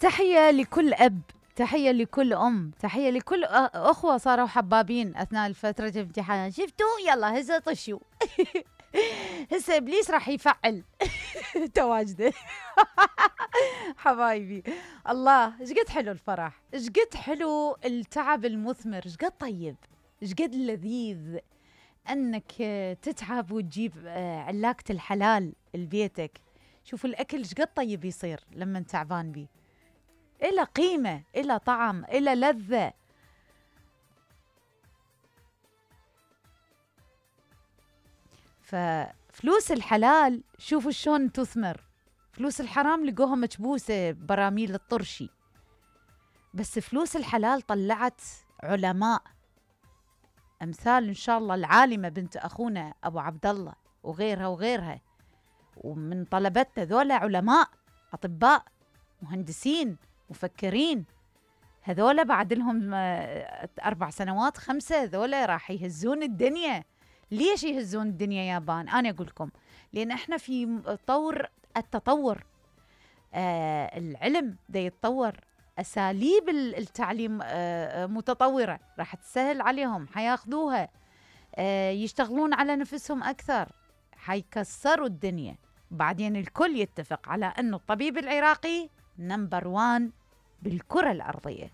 تحية لكل أب، تحية لكل أم، تحية لكل أخوة صاروا حبابين أثناء فترة الامتحان. شفتوا؟ يلا هسه طشوا. هسه إبليس راح يفعل تواجده. حبايبي الله، ايش قد حلو الفرح، ايش قد حلو التعب المثمر، ايش قد طيب، ايش قد لذيذ انك تتعب وتجيب علاقة الحلال لبيتك. شوف الأكل ايش قد طيب يصير لما تعبان بيه، إلى قيمة، إلى طعم، إلى لذة. ففلوس الحلال شوفوا شلون تثمر، فلوس الحرام لقوها مكبوسة براميل الطرشي، بس فلوس الحلال طلعت علماء أمثال إن شاء الله العالمة بنت أخونا أبو عبد الله وغيرها وغيرها، ومن طلبتنا ذولا علماء، أطباء، مهندسين، مفكرين. هذولا بعد لهم 4 سنوات 5 هذولا راح يهزون الدنيا. ليش يهزون الدنيا يابان؟ أنا أقول لكم لأن إحنا في طور التطور. العلم دا يتطور، أساليب التعليم متطورة، راح تسهل عليهم، حياخذوها، يشتغلون على نفسهم أكثر، حيكسروا الدنيا. بعدين الكل يتفق على أنه الطبيب العراقي نمبر 1 بالكرة الأرضية.